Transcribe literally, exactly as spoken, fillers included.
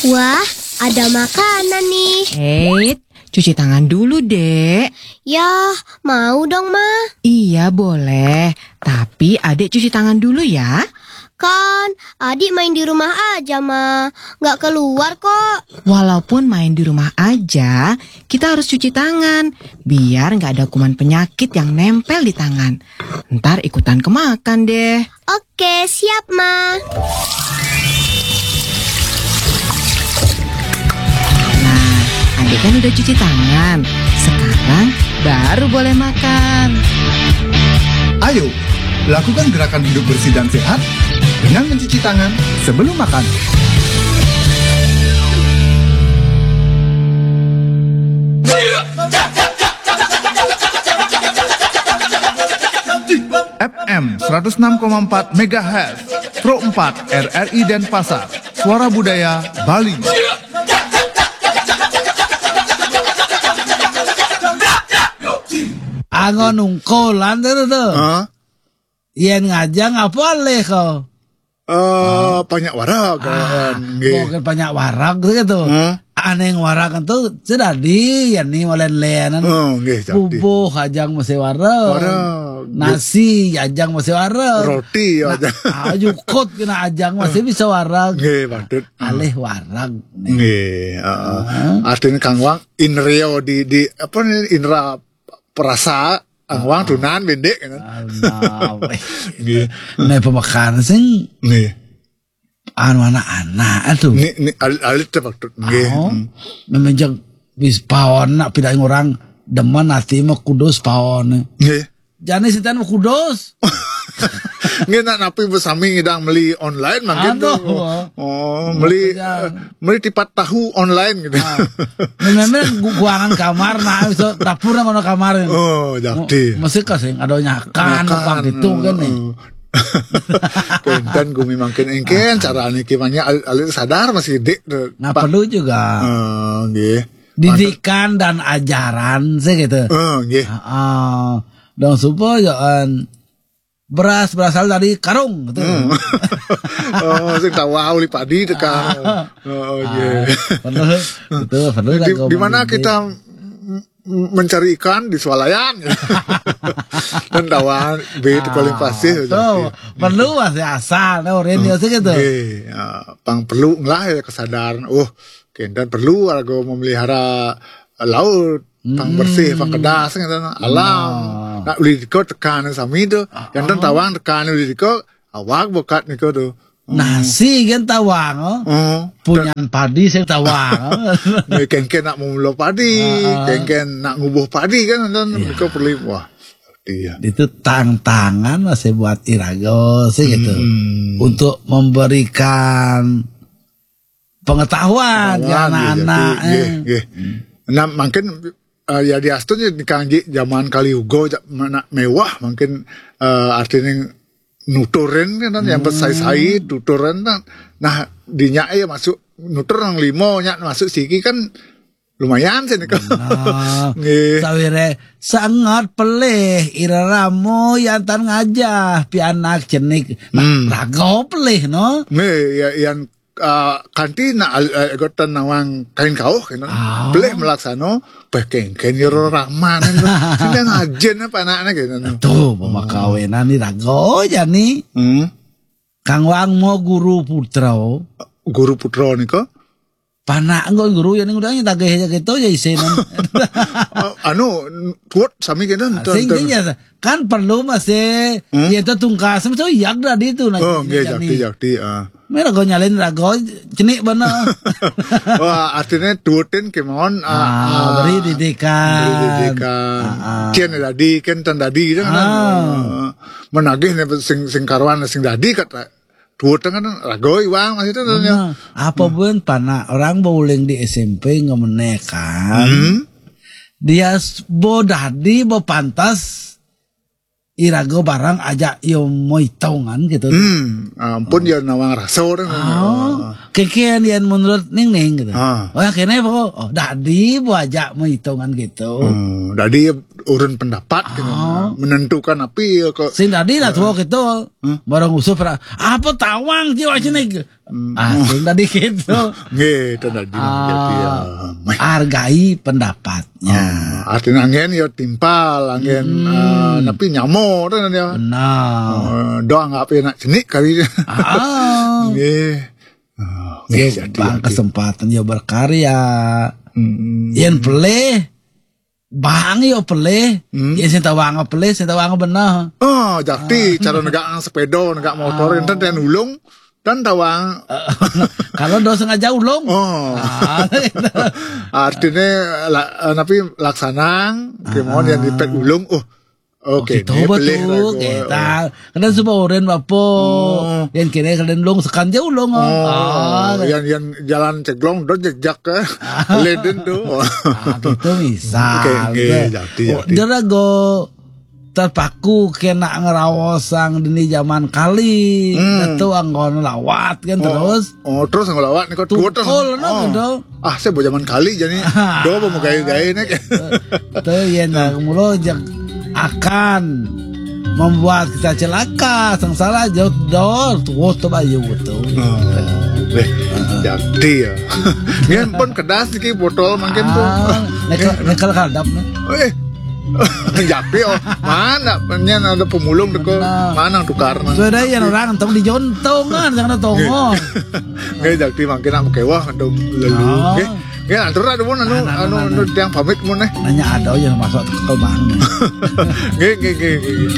Wah, ada makanan nih. Eits, cuci tangan dulu, Dek. Ya, mau dong, Ma. Iya, boleh. Tapi Adik cuci tangan dulu ya. Kan, Adik main di rumah aja, Ma. Nggak keluar kok. Walaupun main di rumah aja, kita harus cuci tangan. Biar nggak ada kuman penyakit yang nempel di tangan. Ntar ikutan kemakan deh. Oke, siap, Ma. Nah, Adik kan udah cuci tangan. Sekarang baru boleh makan. Ayo, lakukan gerakan hidup bersih dan sehat dengan mencuci tangan sebelum makan. F M seratus enam koma empat megahertz, Pro empat R R I Denpasar, Suara Budaya Bali. Anggo nungkulan tuh tuh. Hah? Yen ngajang apa leh kau? Eh, banyak warag kan. Nggih. Mungkin banyak warag gitu. Hah? Aneh warag itu sudah di ya nih malen lenan. Oh, nggih, jadi. Bubuh ajang masih warag. Warag. Nasi ajang masih warag. Roti Nah, aja. Ah, jukut kena ajang masih bisa warag. Nggih, patut. Alih warag. Nggih, heeh. Artinya Kang Wang inrio di di apa nih, indra perasa Kang Wang tunan bendek kan. Nah, Nggih. Nah, pemakanan sing Nggih. anu anak-anak tuh. Ni ni alit alit teh patut. Nggih. Oh, Hmm. memang bis paon nak pindah orang demen hati mah kudus paon. Nggih. Jani sitan mah kudus. Nggih, nak napi besami ngidang meli online mangkin Aduh, tuh. wah. Oh, meli Makanya. eh, meli tipat tahu online gitu. Memang gu- guangan kamar nah bisa dapur nang ono kamar. Oh, jadi. Mesti kasih ada nyakan apa gitu kan nih. Kenten gumi mangkin engken cara niki mangnya al- alit sadar masih dik tuh. Nah, perlu juga Eh, nggih. Didikan dan ajaran sih gitu. Eh, nggih. Ah, dong supaya eh, beras berasal dari karung gitu. Oh, sing tawa uli padi tekan. Oh, nggih. Perlu itu perlu Di, lah kalau di mana mendidik. Kita m- m- mencari ikan di swalayan. Dan tawa be itu paling pasti. Tuh, perlu masih asal, no, Rin, ya, sih gitu. Nggih, ya, pang perlu lah ya kesadaran. Oh, kenten perlu warga memelihara laut, pang bersih, pang kedas gitu, alam. Nak beli diko tekan sami tuh. Yang tawang tekan beli diko awak bokat niko tuh. Nasi kan tawang, oh. Oh, Punyan padi sing tawang. Kengken nak memulo padi, kengken nak ngubuh padi kan, dan niko perlu wah. Iya. Itu tantangan masih buat Irago sih gitu. Untuk memberikan pengetahuan ke Wah, anak-anak. Nggih, Eh. nggih. Nah, mungkin eh, ya diastun ya dikangge zaman kali ugo ja- mana mewah mungkin eh, artinya nuturin kan yang besai-sai tuturin kan. Nah, dinya ya masuk nutur yang limo nya masuk siki kan lumayan sih nih. Ah, Nggih. Sawire sangat pelih ira ramo yantan ngajah pianak cenik. Nah, Hmm. Rago pelih no. Nggih, ya yang uh, kanti nak uh, egotan nawang kain kauh kan. Ah. Pelih melaksano pekengken yoro raman. Sing ngajen apa anaknya gitu. Tuh, pemakawinan ni Rago aja nih. Hmm. Kang Wang mau guru putra. Guru putra nika Panak engko guru ya ning udah tagih aja gitu ya isin. uh, anu tuat sami kena Sing sing ya kan perlu masih ya itu tungkas itu yak tadi itu nah. Oh, nggih Jadi, jakti jakti ah. Mira go nyalin Rago cenik bener. Wah, artinya tuatin kemauan Ah, beri didikan. beri didikan. Ah, ah. Cien dadi kan tan dadi kan. Ah. Ah. Menagih nih sing sing karuan sing dadi kata tuatin kan Rago iwang masih itu Nah, apa pun panak orang bauling di S M P ngemenekan. Hmm. Dia s- bo dadi bo pantas irago barang aja yo moitongan gitu. Hmm, ampun ya nawang rasa orang. Oh, keken yang menurut Ning Ning gitu. Ah. Oh, yang kene apa? Oh, dadi bo aja moitongan gitu. Hmm, jadi urun pendapat gitu. Menentukan apa ya kok. Sing dadi lah tuh gitu. Barang usuh pra- apa tawang jiwa sini. Asing tadi gitu. Nggih, itu tadi. Ah, hargai pendapatnya. Artinya anggén ya timpal, anggén eh, tapi nyamo kan ya. Benar. Eh, doang apa nak cenik kali. Ah, Nggih. Eh, nggih, jadi, bang jadi. Kesempatan ya berkarya. Mm. Yen pelih, bang ya pelih. Yen sing tawang pelih, sing tawang bener. Oh, jadi cara negak sepeda, negak motor, enten dan ulung dan tawang. Kalau do sengaja ulung. Oh, Ah, artinya la, eh, tapi laksanang, kemauan yang dipet ulung. Oh, oke, Gitu ini betul, pelih lah, kita. Kadang sebab orang bapo, yang kene kadang ulung sekan jauh ulung. Oh, Ah, yang yang jalan ceglong do jejak ke leden tuh. Ah, gitu misal. Oke, oke, jadi, Oh, jadi. Dia lagu terpaku kena ngerawas sang dini zaman kali. Hmm. Itu anggon lawat kan terus. Oh, terus ngelawat nih kok dua terus. Tukul no Oh. gitu. Ah, saya bawa zaman kali jadi. Do mau gaya-gaya nih. Itu ya nah mulo jak akan membuat kita celaka, sengsara jauh dor tuh tuh bayu tuh. Oh, eh, jadi ya. Nggih pun kedas niki botol mangkin tuh. Ah, nekel nekel kadap nih. Eh. Japi oh. Mana penyen ada pemulung teko. Mana tukar nang. Sudah ya orang tong dijontongan jangan tongo. Nggih jadi mangkin nak kewah untuk lelu. Oh. Nggih. Nggih atur ada pun anu Nah, nah, anu nah, anu tiang pamit mun eh. Nanya ada yang masuk ke bang. Nggih nggih nggih nggih.